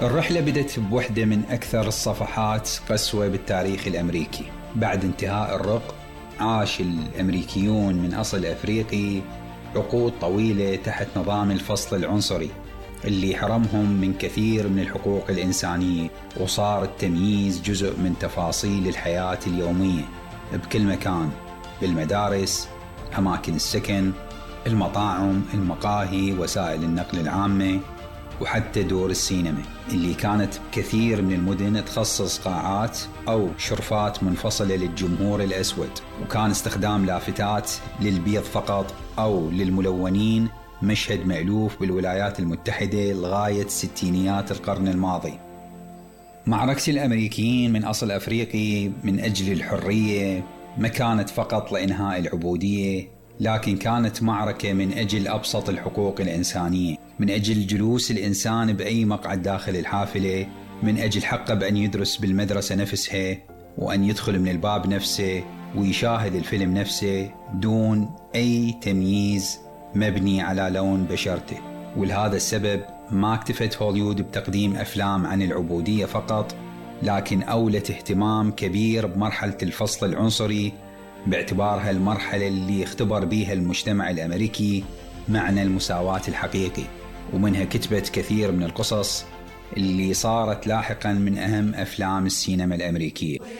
الرحلة بدت بوحدة من أكثر الصفحات قسوة بالتاريخ الأمريكي. بعد انتهاء الرق عاش الأمريكيون من أصل أفريقي عقود طويلة تحت نظام الفصل العنصري اللي حرمهم من كثير من الحقوق الإنسانية، وصار التمييز جزء من تفاصيل الحياة اليومية بكل مكان، بالمدارس، أماكن السكن، المطاعم، المقاهي، وسائل النقل العامة، وحتى دور السينما اللي كانت بكثير من المدن تخصص قاعات أو شرفات منفصلة للجمهور الأسود، وكان استخدام لافتات للبيض فقط أو للملونين مشهد مألوف بالولايات المتحدة لغاية ستينيات القرن الماضي. معركة الأمريكيين من أصل أفريقي من أجل الحرية ما كانت فقط لإنهاء العبودية، لكن كانت معركة من أجل أبسط الحقوق الإنسانية، من أجل جلوس الإنسان بأي مقعد داخل الحافلة، من أجل حقه بأن يدرس بالمدرسة نفسها، وأن يدخل من الباب نفسه ويشاهد الفيلم نفسه دون أي تمييز مبني على لون بشرته. ولهذا السبب ما اكتفت هوليوود بتقديم أفلام عن العبودية فقط، لكن أولت اهتمام كبير بمرحلة الفصل العنصري، باعتبارها المرحلة اللي اختبر بيها المجتمع الأمريكي معنى المساواة الحقيقي، ومنها كتبت كثير من القصص اللي صارت لاحقا من أهم أفلام السينما الأمريكية.